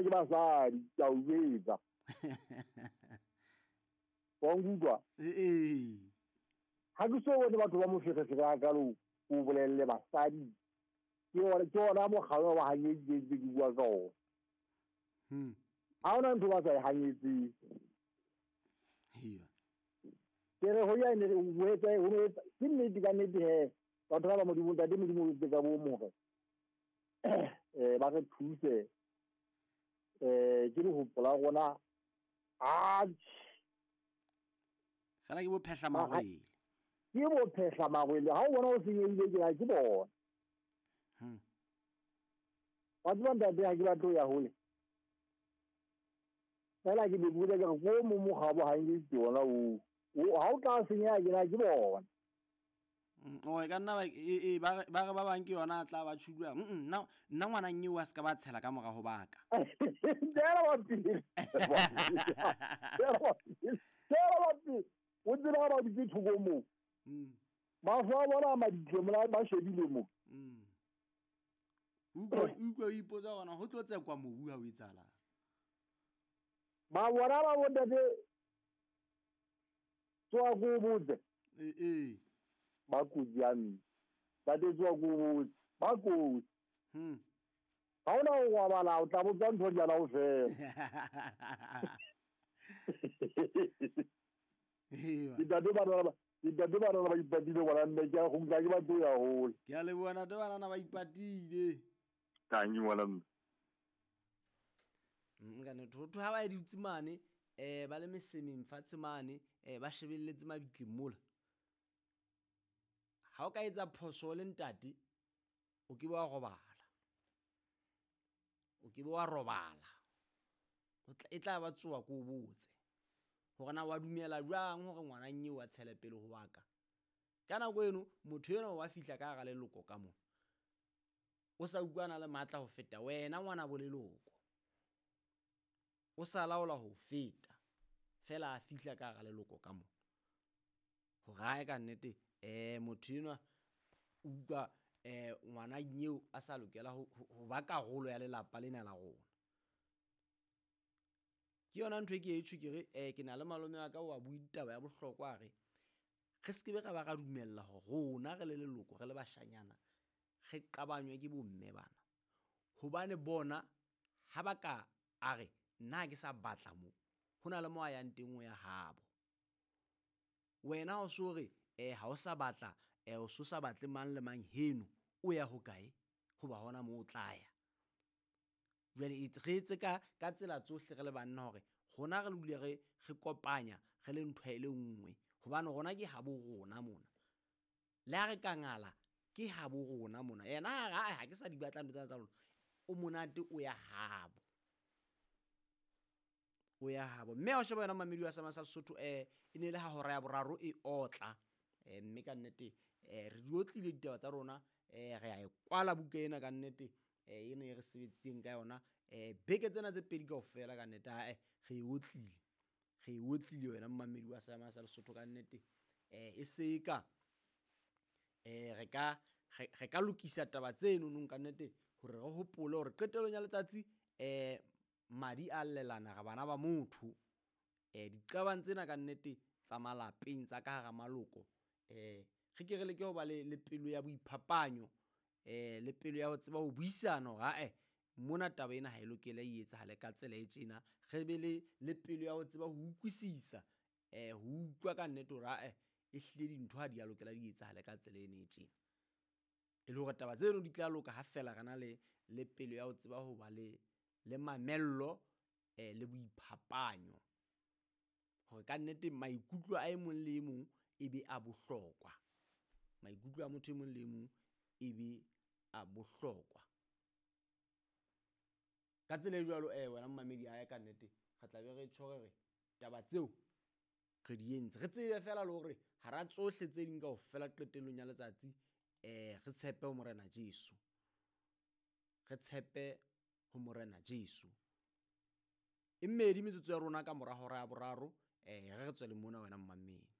ke basadi, ke a o jwetsa. Wa nkutlwa? Ee. Ha ke so bone batho ba moferefere hakalo, o bolelle basadi. Ke ona mokgwa wa hanyeditseng ke bua ka ona. Ha hona ntho ba sa e hanyetseng. Iya. Ke re ho ya ne o etsa ho ne ke nnete ka nnete he. Batho ba Modimo, ntate Modimo o etse ka bo more. Ba re thuse. Ke le hopola rona. Fela ke bo phehla mawele. Ke bo phehla mawele. Ha o bona o senyehile ke ha ke bona. Wa tseba ntate ha ke batle ho ya hole. Fela ke be bua ke re ko mo mokgabo ha nke ke ona o. Ha o tla senyeha ke na ke bona. O ka nna ba ba re ba bang ke yona a tla ba tshudwa. Nna ngwana nnye wa se ka ba tshela ka mora ho baka. Tshela wa pele. Tshela wa pele. Tshela wa pele. O tseba ba dutse thoko moo. Mahlo a bona a maditle mola ba shebile mo. Utlwa o ipotsa hore ho tlo tsekwa mobu ha o etsahalang. Ba bona ba bontate tsoa ko botse. Ee. Ba kotsi ya mme. Ntate tsoa ko botse. Ba kotsi. Ha hona ho robala, o tla botsa ntho di ana ho fela. Ntate bana ba ipatile ngwana mme, ke a kgutla, ke batlo ya hole. Ke a leboha ntate bana ba ipatile. Tangi ngwana mme. Nka ne thotho ha ba dutse mane, ba le mesemeng fatshe mane, ba shebelletse mabitleng mola. Ha o ka etsa phoso le ntate, o ke wa robala. O ke wa robala. E tla ba tsoa ko botse. Hore na wa dumela jwang hore ngwana nnye wa tshele pele ho wa ka. Ka nako eno motho eno wa fihla ka hara leloko ka mona. O sa utlwana le matla ho feta wena ngwana bo leloko. O sa laola ho feta. Fela a fihla ka hara leloko ka mona. Hore hae ka nnete motho enwa utlwa ngwana nyeo a sa lokela ho ba karolo ya lelapa lena la rona. Ke yona ntho e ke e tjho ke re ke na le malome wa ka wa bua ditaba ya bohlokwa re re se ke be ra ba ra dumella hore rona re le leloko re le bashanyana re qabanywe ke bomme bana. Hobane bona ha ba ka a re nna ha ke sa batla mo, ho na le mo a yang teng o ya habo. Wena o so re ha o sa batla, o so sa batle mang le mang heno, o ya hokae? Hoba hona moo o tla ya. Jwale re etse ka tsela tsohle re le banna hore rona re dule re kopanya re le ntho e le nngwe, hobane rona ke habo rona mona. Le ha re ka ngala ke habo rona mona. Yena ha ke sa di batla ntho tsena tsa lona, o monate o ya habo. O ya habo. Mme ha o sheba yona mamedi wa Sama sa Sesotho, e ne le ha hora ya boraro e otla. Mme ka nnete re di otlile ditaba tsa rona, re a e kwala buka ena ka nnete. Ena e re sebeditseng ka yona beke tsena tse pedi kaofela ka nnete, re e otlile. Re e otlile wena mmamedi wa Sama sa Lesotho ka nnete. E se ka re ka lokisa taba tseno nong ka nnete hore re hopole hore qetellong ya letsatsi madi a llelana re bana ba motho. Diqabang tsena ka nnete tsa malapeng tsa ka hara maloko, re ke re leke ho ba le pelo ya boiphapanyo, le pelo ya ho tseba ho buisana hore mona taba ena ha e lokele e etsahale ka tsela e tjena. Re be le pelo ya ho tseba ho utlwisisa, ho utlwa ka nnete hore ehlile dintho ha di a lokela di etsahale ka tsela ena e tjena. E le hore taba tseno di tla loka ha fela re na le pelo ya ho tseba ho ba le mamello, le boiphapanyo. Hore ka nnete maikutlo a e mong le e mong e be a bohlokwa. Maikutlo a motho e mong le e mong e be a bohlokwa. Ka tsela e jwalo, wena mmamedi a ya ka nnete, re tla be re tjho re re taba tseo re di entse. Re tsebe fela le hore hara tsohle tse ding kaofela qetellong ya letsatsi, re tshepe ho Morena Jesu. Re tshepe ho Morena Jesu. E mmedi metsotso ya rona ka mora hora ya boraro, re tswele mona wena mmamedi.